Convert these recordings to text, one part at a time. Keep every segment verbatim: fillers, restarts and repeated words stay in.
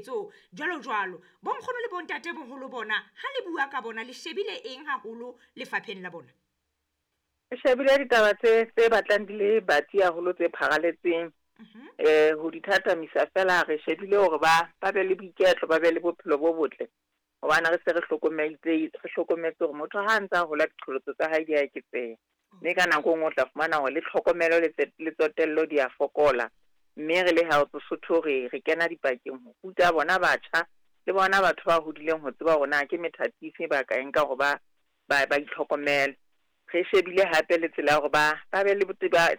tlhekefetso jwalo jwalo. Bonkgono le bontate boholo bona ha le bua ka bona le shebile eng haholo lefapheng la bona? Re shebile ditaba tse tse batlang di le batsi haholo tse pharaletseng. Eh ho di thathamisa fela re shebile hore ba ba be le boiketlo, ba be le bophelo bo botle. Hobane re se re hlokometse re hlokometse hore motho ha a ntse a hola diqholotso tsa hae di a eketseha. Mme ka nako e nngwe o tla fumana hore le tlhokomelo le le tsotello di a fokola. Mme re le Health Sotho re re kena dipakeng ho ruta bona batjha le bona batho ba hodileng ho tseba hore na ke methati efe ba ka e nka hore ba ba ba itlhokomele. Re shebile hape le tsela ya hore ba ba be le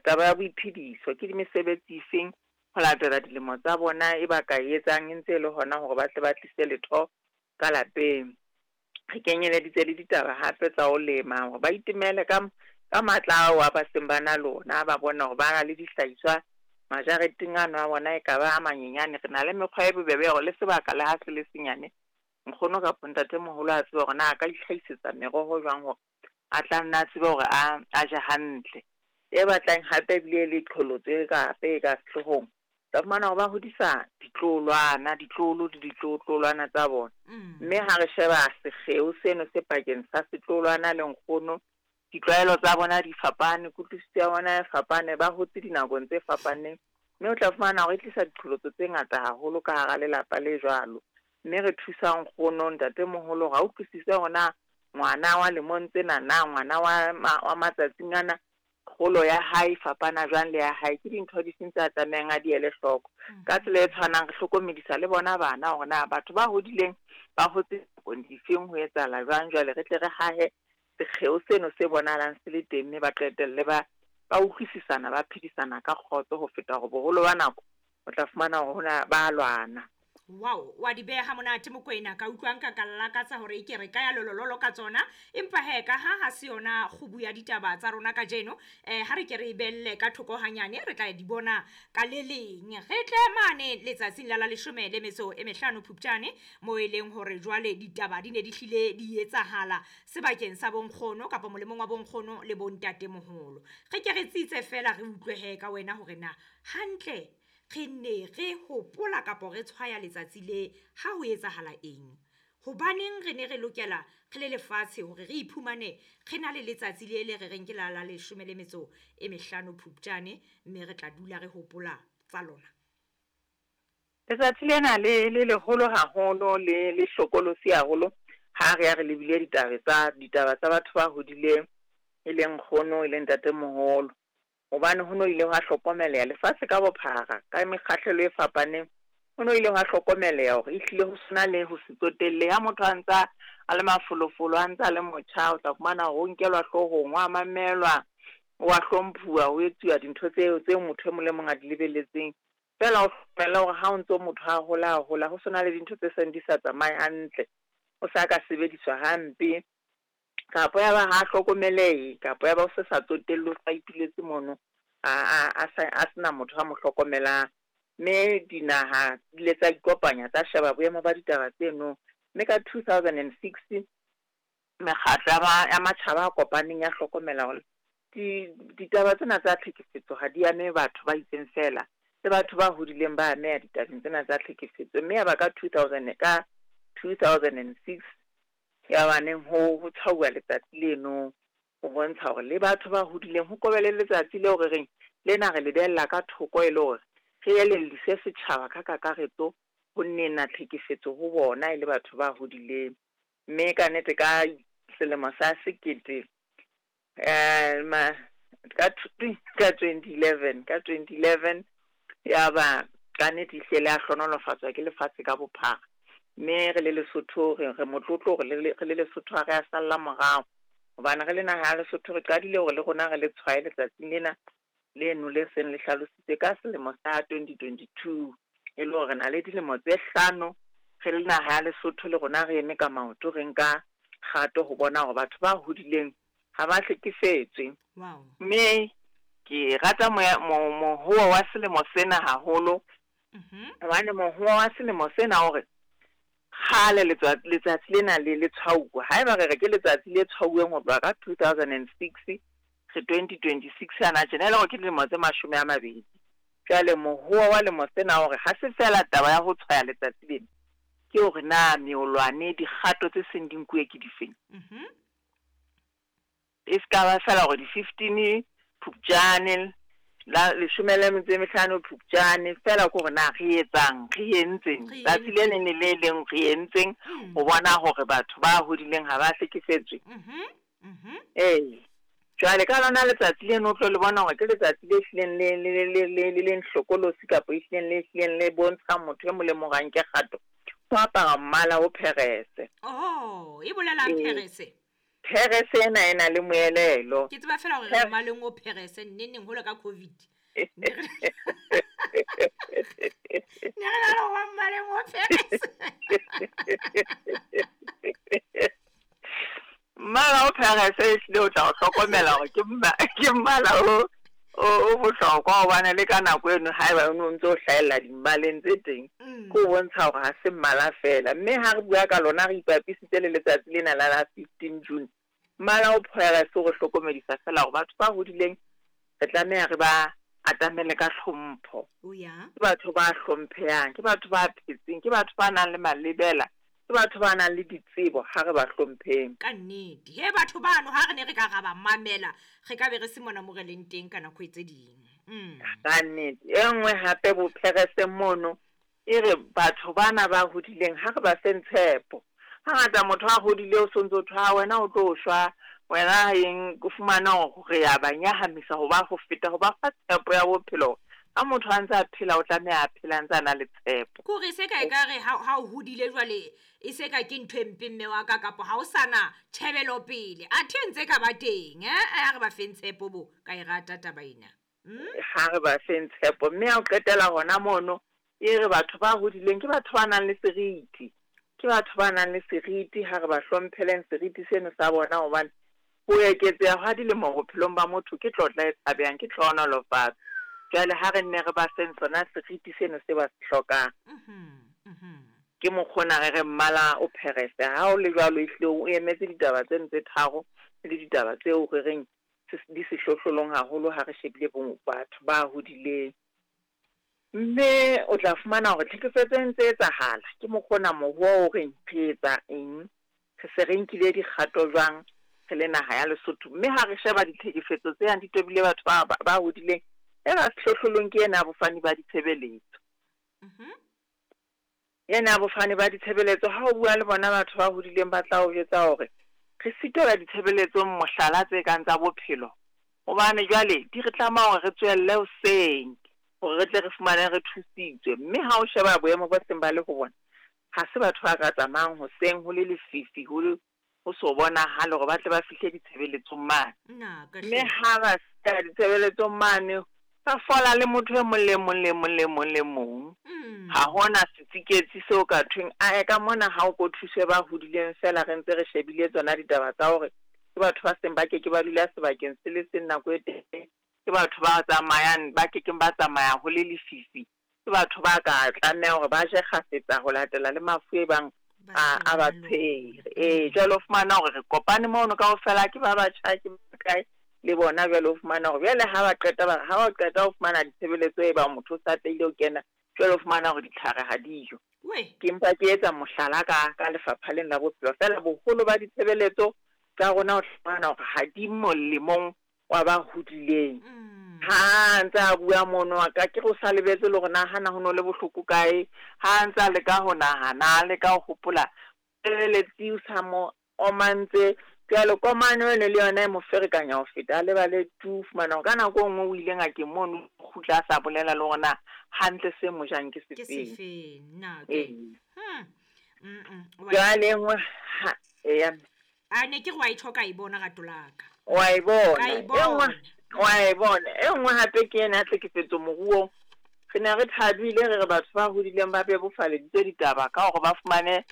taba ya boiphediso, ke mesebetsi efeng ho latela dilemo tsa bona e ba ka e etsang e ntse e le hona hore ba tle ba tlise letho ka lapeng. Re kenyeleditse le ditaba hape tsa ho lema hore ba itemele ka ka matla ao a ba seng ba na lona, ba bona hore ba na le dihlahiswa majareteng ano a bona e ka ba a manyenyane. Re na le mekgwa e bobebe ya hore le sebaka le ha se le senyane, nkgono kapa ntatemoholo a tsebe hore na a ka itlhahisetsa meroho jwang hore a tla nna a tsebe hore a a je hantle. E batlang hape ebile e le qholotso e ka hape e ka sehloohong, tla fumana hore ba hodisa ditloholwana, ditloholo le ditloholwana tsa bona. Mme ha re sheba sekgeo seno se pakeng sa setloholwana le nkgono, ditlwaelo tsa bona di fapane, kutlwisiso ya bona e fapane, ba hotse dinakong tse fapaneng. Mme o tla fumana hore e tlisa diqholotso tse ngata haholo ka hara lelapa le jwalo. Mme re thusa nkgono, ntatemoholo hore a utlwisise hore na ngwana wa lemong tsena na ngwana wa wa matsatsing ana kgolo ya hae e fapana jwang le ya hae, ke dintho di feng tse a tlamehang a di ele hloko. Ka tsela e tshwanang re hlokomedisa le bona bana hore na batho ba hodileng ba hotse nakong difeng, ho etsahala jwang. Jwale re tle re hahe sekgeo seno se bonahalang se le teng, mme ba qetelle ba ba utlwisisana, ba phedisana ka kgotso ho feta hore boholo ba nako o tla fumana hore hona ba lwana. Wow, wa di beha monate Mokoena, ka utlwa nka ka lakatsa hore ke re ka ya lolololo ka tsona. Empa he ka ha ha se yona kgubu ya ditaba tsa rona kajeno, eh ha re ke re belle ka thoko hanyane, re tla di bona ka le leng. Re tle mane letsatsing la la leshome le metso e mehlano Phupjane, mo e leng hore jwale ditaba di ne di hlile di etsahala sebakeng sa bonkgono kapa molemong wa bonkgono le bontatemoholo. Re ke re tsitse fela re utlwe he ka wena hore na hantle re ne re hopola kapa re tshwaya letsatsi le ha ho etsahala eng. Hobaneng re ne re lokela re le lefatshe hore re iphumane re na le letsatsi le le re reng ke la la leshome le metso e mehlano Phupjane, mme re tla dula re hopola tsa lona. Letsatsi lena le le leholo haholo, le le hlokolosi haholo ha re ya re lebile ditaba tsa ditaba tsa batho ba hodileng, e leng nkgono e leng ntatemoholo. Hobane ho no ile hwa hlokomeleha lefatshe ka bophara ka mekgahlelo e fapaneng, ho no ile hwa hlokomeleha hore ehlile ho sena le ho se tsotelle. Ha motho a ntsa a le mafolofolo, a ntsa a le motjha, o tla fumana hore o nkelwa hloohong, wa mamelwa, wa hlomphuwa, ho etsuwa dintho tseo tseo motho e mong le mong a di lebelletseng. Feela o hlokomele hore ha o ntso motho a hola a hola, ho sena le dintho tse seng di sa tsamaye hantle, o sa ka sebediswa hampe, kapa ya ba ha hlokomelehe, kapa ya ba o se sa tsotelle, o sa ituletse mono a a a sa a sena motho a mo hlokomelang. Mme dinaha di ile tsa ikopanya tsa sheba boemo ba ditaba tseno. Mme ka two thousand and six mekgatlo ya ma ya matjhaba a kopaneng ya hlokomela hore di ditaba tsena tsa tlhekefetso ha di ame batho ba itseng fela, le batho ba hodileng ba ameha ditabeng tsena tsa tlhekefetso. Mme ya ba ka two thousand ka two thousand and six ya baneng ho ho tshwauwa letsatsi leno ho bontsha hore le batho ba hodileng ho kobe le letsatsi leo re reng lena re le behella ka thoko e le hore re elelliswe setjhaba ka kakaretso ho nena tlhekefetso ho bona e le batho ba hodileng. Mme ka nnete ka selemo sa sekete eh ma ka ka twenty eleven ka twenty eleven ya ba ka nnete ehlile ya hlohonolofatswa ke lefatshe ka bophara. Mme re le Lesotho re re motlotlo hore le re le Lesotho ha re a salla morao, hobane re le naha ya Lesotho re qadile hore le rona re le tshwaye letsatsing lena leno le seng le hlalositswe ka selemo sa twenty twenty two, e le hore re na le dilemo tse hlano re le naha ya Lesotho le rona re eme ka maoto, re nka kgato ho bona hore batho ba hodileng ha ba hlekefetswe. Wow. Mme ke rata moya mo mohoa wa selemo sena haholo, hobane mohoa wa selemo sena hore kgale letsatsi lena le le tshwauwa. Haeba re re ke letsatsi le tshwauweng ho tloha ka two thousand and six re twenty twenty six hana tjena, e le hore ke dilemo tse mashome a mabedi. Jwale mohoa wa lemo sena hore ha se fela taba ya ho tshwaya letsatsi lena, Ke hore na meolwane dikgato tse seng di nkuwe ke difeng. Mhm. E se ka ba fela hore di-fifteen Phupjane, la leshome le metso e mehlano Phupjane, fela ke hore na re etsang, re entseng. Re Tsatsi le entseng. leng le le leng re entseng Mm. ho bona hore batho ba hodileng ha ba hlekefetswe. Mhm. Mhm. Ee. Jwale ka lona letsatsi leno o tlo le bona hore ke letsatsi le hlileng le le le le le le leng hlokolosi kapa e hlileng le hlileng le bontshang motho e mong le mong hore a nke kgato. Ho apara mmala o pherese. Oh, e bolelang Ee. pherese? Pherese ena e na le moelelo. Ke tseba fela hore Pher- mmaleng o pherese nneneng hole ka COVID. Ne re ne re na le ho mmaleng o pherese. Mmala o pherese ehlile o tla o hlokomela hore ke mma- ke mmala o o o bohlokwa hobane le ka nako eno haeba o no ntso o hlahella dimmaleng tse teng, Mm. ke ho bontsha hore ha se mmala feela. Mme ha re bua ka lona re ipapisitse le letsatsi lena la la fifteen June, mmala o pherese o re hlokomedisa fela hore batho ba hodileng re tlameha re ba atamele ka hlompho. O ya. Ke batho ba hlomphehang, ke batho ba phetseng, ke batho ba nang le malebela, ke batho ba nang le ditsebo, ha re ba hlompheng. Ka nnete. He batho bano ha re ne re ka ra ba mamela, re ka be re se mona mo re leng teng ka nako e tse ding. Mm. Ka nnete. E nngwe hape bopherese mono e re batho bana ba hodileng ha re ba feng tshepo. Hangata motho a hodile o sontso thwe, ha wena o tlo shwa, wena eng, o fumana hore re ya ba nyahamisa ho ba ho feta ho ba fa tshepo ya bophelo. Ha motho a ntse a phela o tlameha a phela a ntse a na le tshepo. Ke hore se ka ekare ha ha o hodile jwale e se ka ke ntho e mpe mme wa ka kapa ha o sana tjhebelopele. Athe e ntse ka ba teng, eh, ha re ba feng tshepo bo, ka e rata taba ena. Mm? Ha re ba feng tshepo, mme ha o qetela hona mono e re batho ba hodileng ke batho ba nang le seriti. Ke batho ba nang le seriti, ha re ba hlomphele seriti seno sa bona hobane ho eketseha hwa dilemo bophelong ba motho ke tlotla e tshabehang, ke tlhohonolofatso. Jwale ha re nne re ba feng sona seriti seno se ba se hlokang. Mhm. Mhm. Ke mokgona re re mmala o pherese. Ha o le jwalo ehlile o emetse ditaba tseno tse tharo le ditaba tseo re reng di sehlohlolong haholo ha re shebile bo batho ba hodileng. Mme o tla fumana hore tlhekefetso e ntse etsahala. Ke mokgona moruo o reng re etsa eng, re se re nkile dikgato jwang re le naha ya Lesotho. Mme ha re sheba ditlhekefetso tse yang di tobile batho ba, ba, ba hodileng, e ka sehlohlolong ke ena ya bofani ba ditshebeletso. Mhm. Ena ya bofani ba ditshebeletso, ha o bua le bona batho ba hodileng ba tla o jwetsa hore re sitelwa ditshebeletsong mohlala tse kang tsa bophelo. Hobane jwale di re tlameha hore re tswelle hoseng hore re tle re fumane re thusitswe. Mme ha o sheba boemo bo seng ba le ho bona, ha se batho ba ka tsamayang hoseng ho le lefifi, ho le ho so bonahale hore ba tle ba fihle ditshebeletsong mane. Nna ka Mme hle. ha ba fihla ditshebeletsong mane, ba fola le motho e mong le mong le mong le mong le mong. Mm. Ha hona setsiketsi seo ka thweng, ae ka mona ha o ko thuswe ba hodileng fela re ntse re shebile tsona ditaba tsa hore ke batho ba seng ba keke ba dula sebakeng se le seng nako e telele, ke batho ba tsamayang ba kekeng ba tsamaya ho le lefifi, ke batho ba ka tlameha hore ba je kgafetsa ho latela le mafu e bang Ba a, a ba senang lona. tshwere. Ee, jwale o fumana hore re kopane mono kaofela ke ba batjha ke ba kae le bona. Jwale o fumana hore jwale ha ba qeta ba re ha ba qeta ho fumana ditshebeletso e bang motho o sa tlaile ho kena, jwale o fumana hore ditlhare ha dijo. We. Ke mpa ke etsa mohlala ka, ka lefapha lena la bophelo. Feela boholo ba ditshebeletso tsa rona o fumana hore ha di molemong wa ba hodileng. Mm. Ha ntse a bua mono wa ka, ke re o sa lebetse le hore na hana ho no le bohloko kae, ha ntse a leka ho nahana, a leka ho hopola, tshebeletsi o sa mo omantse. Jwale komano eno le yona e mo ferekanya ho feta, a lebale tu, fumana hore ka nako e nngwe o ile ngakeng mono, o kgutla a sa bolela le hore na hantle se mo jang ke Ke sefeng. sefeng, nna ke. Ee. Hmm. Mm, mm. Wa- Jwale e nngwe ha, eya. A ne ke re wa e tjho ka e bona rato la ka. Wa e bona. Ka e E nngwe, bona. wa e bona. E nngwe hape ke ena ya tlhekefetso moruong. Re ne re thabile re re batho ba hodileng ba bebofaleditswe ditaba ka hore ba fumane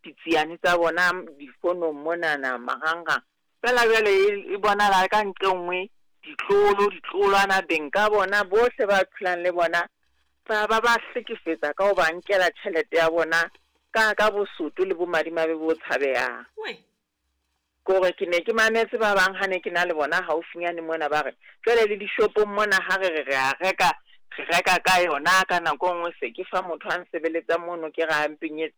ditsiane tsa bona difonong monana marangrang. Feela jwale e, e bonahala ka nqe nngwe ditlolo, ditlolwana beng ka bona bohle ba phelang le bona ba, ba ba hlekefetsa ka ho ba nkela tjhelete ya bona ka, ka bosoto le bomadimabe bo tshabehang. We. Kore ke ne ke mametse ba bang ha ne ke na le bona haufinyane mona ba re jwale le dishopong mona ha re re re a reka, re reka ka yona ka nako e nngwe se ke fa motho a nsebeletsang mono ke re a mpenyetse